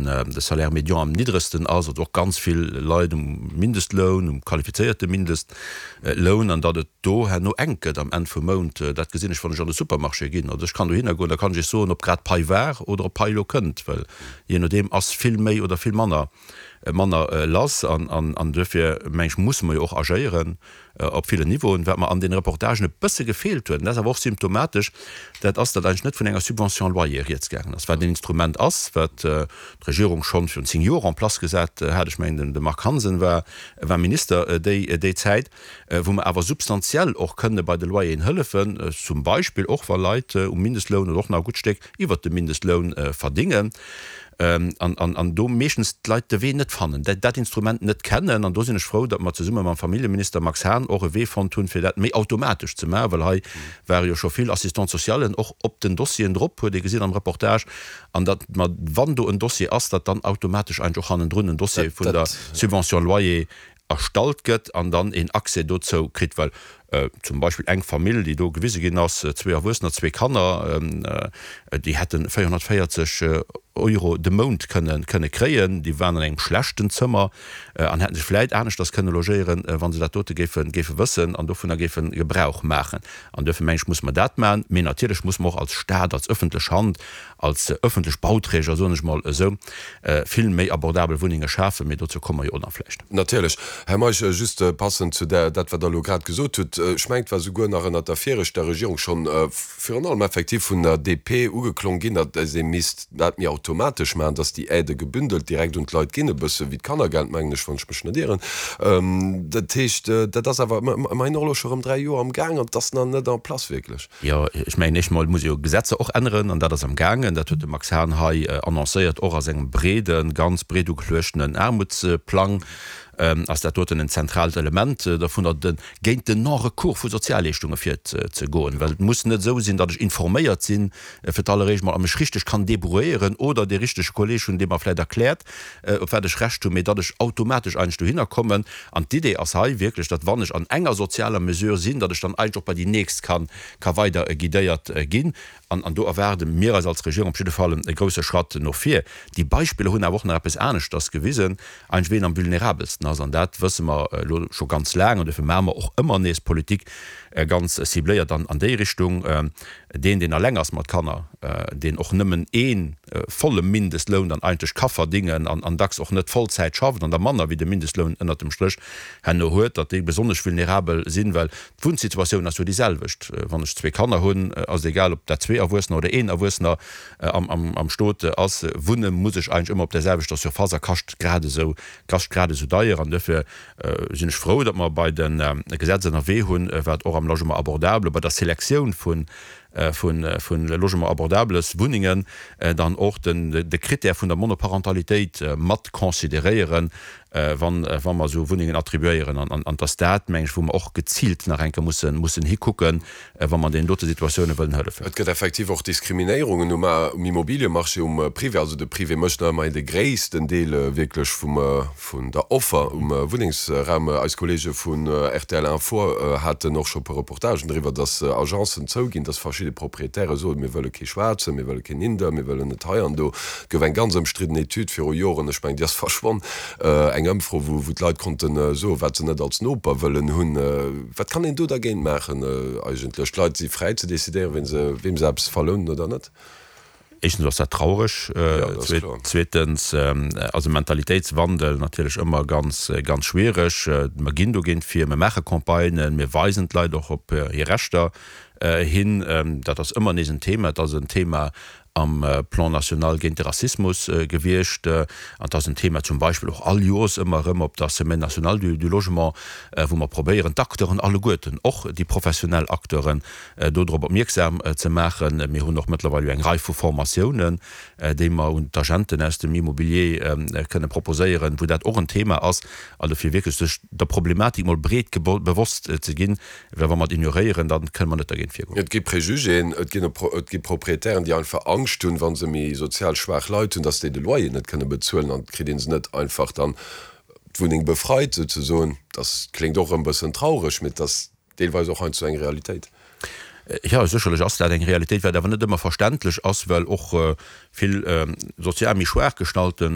de Salaire médian am niddregsten ass, also och ganz vill Leit um Mindestloun, um qualifizéierte Mindestloun, an datt et do herno enk gëtt am Enn vum Mount, dat gesinn ech, wann ech an de Supermarché ginn. Also ech kann dohinner goen, da kann ech Iech soen, ob grad Pai war oder ob Pai elo kënnt, well jee nodeem ass vill méi oder vill manner manner lass. An duerfir, meng ech, musse mer jo och agéieren op villen Niveauen. Wat mer an deene Reportagen e bësse gefeelt huet, an dat ass awer och symptomatesch, dat ass, datt eigentlech net vun enger Subvention loyer rieds gaangen ass, wat en Instrument ass, wat d'Regierung schonn virun 10 Joer en place gesat hat, ech mengen de Marc Hansen war war Minister déi déi Zäit, wou mer awer substantiell och kënne bei de Loyeren hëllefen, zum Beispill och wa Leit um Mindestloun oder och nach e gutt Stéck iwwert dem Mindestloun verdingen an do meeschtens d'Leit de Wee net fannen, dat Instrument net kennen. An do sinn ech frou, datt mer zesumme mam Familljeminister Max Hahn och e Wee fonnt hunn, fir dat méi automatesch ze maachen, well hei ware jo scho vill Assistante-socialen och op den Dossieren drop, huet ee gesinn am Reportage, an datt mer, wann do en Dossier ass, datt dann automatesch eigentlech och hannendrun en Dossier vun der Subvention loyer erstallt gëtt an dann een Accès dozou kritt, well zum Beispill eng Famill, déi do gewise ginn ass, zwee Erwuessener, zwee Kanner, déi hätte 440 Euro de Mount kënne kënne kréien, déi waren an engem schlechten Zëmmer an hätte sech vläit aneschters kënne logéieren, wa se dat dote géife géife wëssen an dovunner géife Gebrauch maachen. An duerfir meng ech, musse mer dat maachen, mee natierlech musse mer och als Stat, als öffentlech Hand, als ëffentlech Bauträger, soen ech mol esou, vill méi abordabel Wunnenge schafen, mee dozou komme mer jo och nach vläicht. Natierlech. Här Meisch, just passend zu där, dat wat Der elo grad gesot hutt, ech mengen, et war souguer nach ënnert der viregter Regierung schonn virun allem effektiv vun der DP ugeklong ginn, datt ee misst dat méi automatesch maachen, datt déi Aidë gebündelt direkt un d'Leit ginn, e bësse wéi d'Kannergeld, mengen ech, wann ech mech net ieren. Dat heescht, dat ass awer ëmmerhin och elo scho erëm 3 Joer am Gaang an et ass nach net en place wierklech. Jo, ech mengen, éischt emol muss ee jo Gesetzer och änneren, an dat ass am gaangen. Dat huet de Max Hahn hei annoncéiert, och a sengem breeden, ganz breet ugeluechtenen Aarmutsplang ass dat doten en zentraalt Element dovunner, de géint den Non-recours vu Sozialleeschtunge virzegoen. Well et muss net esou sinn, datt ech informéiert sinn fir d'alleréischt mol a mech richteg kann débrouilléieren oder dee richtege Kolleeg hunn, dee mer vläicht erkläert, op wat ech Recht hunn, mee datt ech automatesch eigentlech dohinner kommen. An d'Idee ass hei wierklech, datt wann ech an enger sozialer Mesure sinn, datt ech dann eigentlech och bei déi nächst kann, ka weider guidéiert ginn. An, an do erwaarde mir eis als Regierung op jidde Fall e grouse Schratt no vir. Déi Beispiller hunn awer och nach eppes aneschters gewisen, eigentlech ween am vulnerabelsten ass. An dat wësse mer elo scho ganz laang an dofir maache mer och ëmmer nees Politik ganz cibléiert an, an déi Richtung. Deen, deen eleng ass mat Kanner, deen och nëmmen ee volle Mindestloun dann eigentlech ka verdingen an an dacks och net Vollzäit schafft an da manner wéi de Mindestloun ënnert dem Stréch herno huet, datt déi besonnesch vulnerabel sinn, well d'Wunnsituatioun ass jo déi selwecht. Wann ech zwee Kanner hunn, ass et egal, ob dat zwee Erwuessener oder een Erwuessener am Stot ass, wunne muss ech eigentlech ëmmer op där selwechter Surface a kascht grad esou, kascht grad esou deier. An duerfir sinn ech frou, datt mer bei de Gesetz ënnerwee hunn, wat och am Logement abordable, bei der Selektioun vu Logement abordables Wunnengen dann och de Critère vun der Monoparentalitéit mat consideréieren, wa mer esou Wunnengen attribuéieren. An dass dat, meng ech, wou mer och geziilt nach eng Kéier mussen hikucken, wa mer deenen dote Situatioune wëllen hëllefen. Et gëtt effektiv och Diskriminéierungen um Immobiliemarché, um Privé. Also de Privé mécht nach ëmmerhin de gréissten Deel wierklech vum, vun der Offer um Wunnengsraum. Eis Kolleege vun rtl Info haten och scho e puer Reportagen driwwer, dass Agencen zouginn, dass verschidde Proprietäre soen, mir wëlle kee Schwaarzen, mir wëlle keen Inder, mir wëllen net hei an do. Et gouf eng ganz ëmstridden Etüd viru Joren, ech mengen déi ass verschwonn, eng Ëmfro, wou d'Leit konnte soen, wat se net als Noper wëllen hunn. Wat kann een do dergéint maachen eigentlech? D'Leit si fräi ze decidéieren, ween se, weem se eppes verlounen oder net. Éischtens ass dat traureg, zweetens ass e Mentalitéitswandel natierlech ëmmer ganz, ganz schwiereg. Mer ginn dogéint vir, mer maache Campagnen, mir weisen d'Leit och op hir Rechter hin. Dat ass ëmmer nees en Thema. Et ass en Thema am Plan national géint de Rassismus gewiescht. An et ass en Thema zum Beispill och all Joers ëmmer erëm op der Semaine nationale du logement, wou mer probéieren, d'Acteuren alleguerten, och déi professionell Acteuren, do drop opmierksam ze maachen. Mir hunn och mëttlerweil jo eng Rei vu Formatiounen, déi mer un d'Agenten aus dem Immobilier kënne proposéieren, wou dat och en Thema ass. Also fir wierklech sech der Problematik mol breet bewosst ze ginn, Well wa mer et ignoréieren, da kënne mer net dergéint virgoen. Et gi Préjugéen, et ginn et gi Proprietären, déi einfach Angscht hunn, wa se méi sozial schwaach Leit hunn, datt déi de Loyer net kënne bezuelen an et kritt ee se net einfach dann d'Wunneng befreit souzesoen. Dat kléngt och erëm e bëssen traureg, mee et ass deelweis och heiansdo eng Realitéit. Jo, sécherlech ass dat eng Realitéit, wat awer net ëmmer verständlech ass, well och vill sozial méi schwaach gestallte.